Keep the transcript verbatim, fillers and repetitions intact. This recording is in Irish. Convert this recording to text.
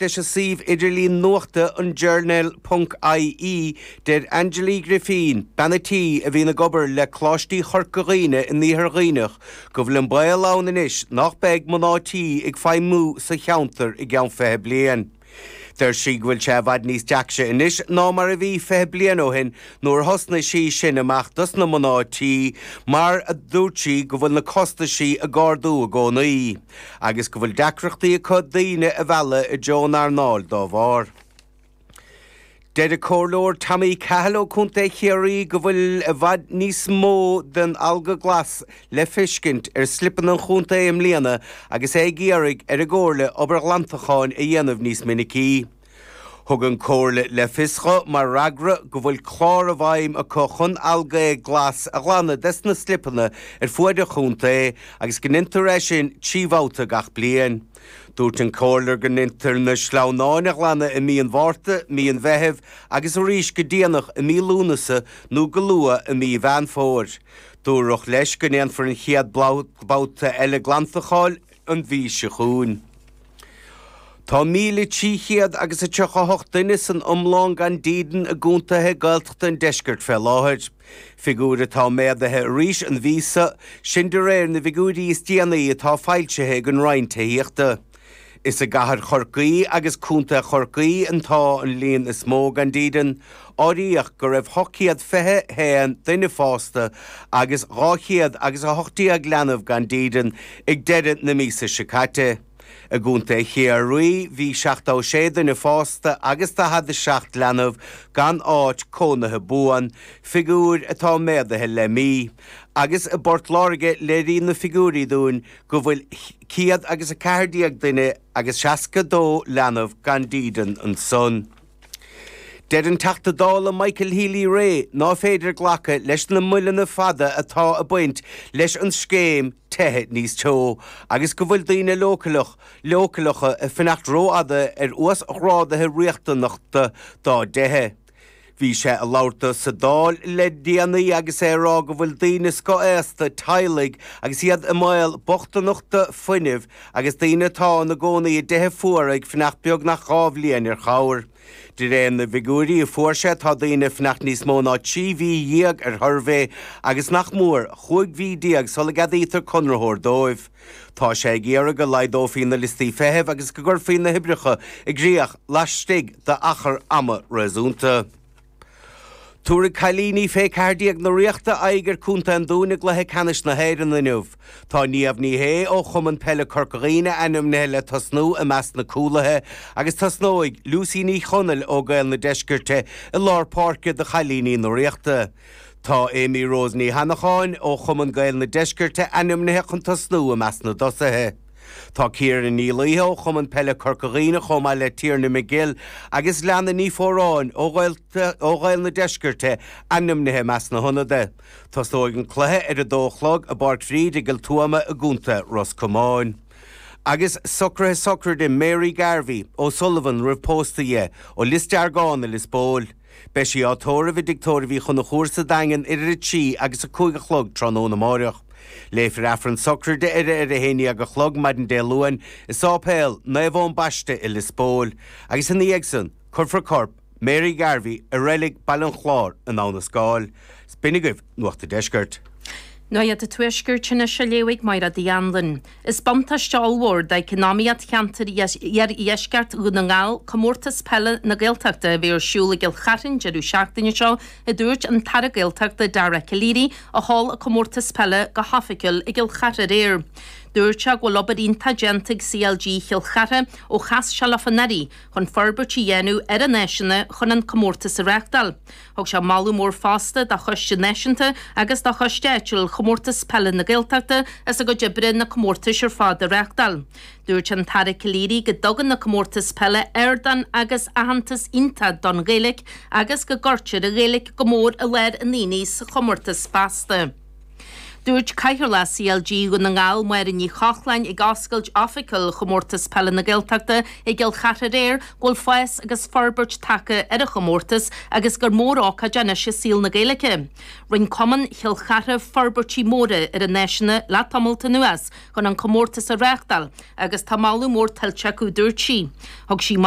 Leis an suíomh idirlín nuachta an Journal ponc IE, deir Angela Uí Ghrifín, bean a' tí a bhíonn ag obair le Coláistí Chorca Dhuibhne in Iarthar Dhuibhneach, go bhfuil an baol ann anois nach mbeidh mná tí ag feidhmiú sa cheantar i gceann fiche bliain. Deir sí go bhfuil sé i bhfad níos deacra anois ná mar a bhí fiche bliain ó shin nuair a thosnaigh sí sin amach dos na mná tí mar a dúirt sí go bhfuil na costaisí ag ardú i gcónaí agus go bhfuil deacrachtaí acu daoine a mhealladh i dtreo an earnáil dá bharr. Deir an Comhairleoir Tommy Cahill ó Contae Chiarraí go bhfuil i bhfad níos mó den alga glas le feiscint ar slipeanna an chontae i mbliana agus é ag iarraidh ar an gComhairle obair ghlantacháin a dhéanamh níos minicí. Thug an Comhairle le fios dho mar fhreagra go bhfuil clár i bhfeidhm acu chun algae glas a ghlanadh des na slipeanna ar fuaid an chontae agus go ndeintear é sin trí bhabhta gach bliain. Dúirt an Comhairleoir go ndeintear na sleamhnáin a ghlanadh i mí an Mhárta, mí an Mheithimh agus arís go déanach i mí Lúnasa nó go luath i mí Mheán Fómhair. Dúradh leis go ndéanfar an chéad babhta eile glantacháin an mhí seo chugainn. Tá míle trí chéad agus a tríocha a hocht duine san iomlán gan dídean i gcontaetha Gaeltachta an deiscirt fé láthair. Figiúir atá méadaithe arís an mhí seo, sin de réir na bhfigiúirí is déanaí atá foilsithe ag an Roinn Tithíochta. Is i gcathair Chorcaí agus Contae Chorcaí atá an líon is mó gan dídean. Áiríodh go raibh ocht chéad fiche haon duine fásta agus dhá chéad agus a hocht déag leanbh gan dídean ag deireadh na míosa seo caite. I gContae Chiarraí bhí seachtó sé duine fásta agus daichead a seacht leanbh gan áit cónaithe buan, figiúir atá méadaithe le mí. Agus i bPort Láirge léiríonn na figiúirí dúinn go bhfuil céad agus a ceathair déag duine agus seasca dó leanbh gan dídean ansan. Deir an Teachta Dála Michael Healy-Rae ná féidir glacadh leis na moilleanna fada atá ag baint leis an scéim Tithe Níos Teo agus go bhfuil daoine leochaileach leochaileacha ag fanacht rófhada ar uasghráduithe riachtanacha dá dtithe. Bhí sé ag labhairt dó sa Dáil le déanaí agus é ag rá go bhfuil daoine scothaosta, teaghlaigh agus iad i mbaol bochtaineachta fuinnimh agus daoine atá ina gcónaí i dtithe fuara ag fanacht beagnach dhá bhliain ar chabhair. De réir na bhfigiúirí a fuair sé tá daoine ag fanacht níos mó ná trí mhí dhéag ar shuirbhé agus nach mór chúig mhí déag sula gceadaítear conraitheoir dóibh. Tá sé ag iarraidh go laghdófaí na liostaí feithimh agus go gcuirfí na hoibreacha i gcrích laistigh d'achar ama réasúnta. Tabharfaidh cailíní fé ceathair déag na Ríochta aghaidh ar Contae an Dúin i gcluiche ceannais na hÉireann inniu. Tá Niamh Ní Shé ó Chumann Peile Corca Dhuibhne ainmnithe le tosnú i measc na cúlaithe agus tosnóidh Lucy Ní Chonaill ó Gaeil na Deiscirte i lár páirce do chailíní na Ríochta. Tá Amy Rose Ní Hannacháin ó Chumann Gaeil na Deiscirte ainmnithe chun tosnú i measc na dtosaithe. Tá Ciara Ní Laoithe ó Chumann Peile Corca Dhuibhne chomh maith le Tiarna McGill agus Leana Ní Fóráin ó ó Ghaeil na Deiscirte ainmnithe i measc na hionadaithe. Tosnóidh an cluiche ar a dó a chlog i bPáirc Bhríde i gCill Tuama i gContae Ros Comáin. Agus socruithe sochraide Mary Garvey O'Sullivan roimh pósta dhi ó Lios Deargán i Lios Póil. Beidh sí á tórramh i dTigh Tórraimh Uí Chonchúir sa Daingean idir a trí agus a cúig a chlog tráthnóna amáireach. Léifear Aifreann sochraide uirthi ar a haon dhéag a chlog maidin Dé Luain i Sáipéal Naomh Eoin Baiste i Lios Póil, agus ina dhiaidh san, cuirfear corp Mary Garvey i reilig Baile an Chláir in Abha na Scáil. B'in agaibh Nuacht an Deiscirt. Nuacht an Tuaiscirt anois á léamh ag Máire Uí Anluain. Is buntáiste ollmhór d'eacnamaíocht cheantar iardheisceart Dhún na nGall Comórtas Peile na Gaeltachta a bheidh ar siúl i gCill Charthain deireadh seachtaine seo, a dúirt an tAire Gaeltachta Dara Calleary a sheol an comórtas peile go hoifigiúil i gCill Chartha aréir. Dúirt sé go bhfuil obair iontach déanta ag CLG Chill Chartha ó chas sé leofa anuraidh chun forbairt a dhéanamh ar an áiseanna chun an comórtas a reáchtáil. Thug sé moladh mór fosta do Choiste Náisiúnta agus do Choiste Áitiúil Chomórtas Peile na Gaeltachta as a gcuid oibre na comórtais ar fad a reáchtáil. Dúirt an tAire Calleary go dtugann na comórtais peile ardán agus aitheantas iontach don Ghaeilge agus go gcuirtear an Ghaeilge go mór i lár an aonaigh sa chomórtas feasta. Dúirt Cathaoirleach C L G Dhún na nGall, Máire Ní Chochláin, ag oscailt oifigiúil chomórtas peile na Gaeltachta i gCill Chartha aréir go bhfuil fás agus forbairt tagtha ar an chomórtas agus gur mórócáid anois i saol na Gaeilge. Rinne Cumann Chill Chartha forbairtí móra ar a n-áiseanna le tamall anuas chun an comórtas a reáchtáil agus tá moladh mór tuillte acu, dúirt sí. Thug sí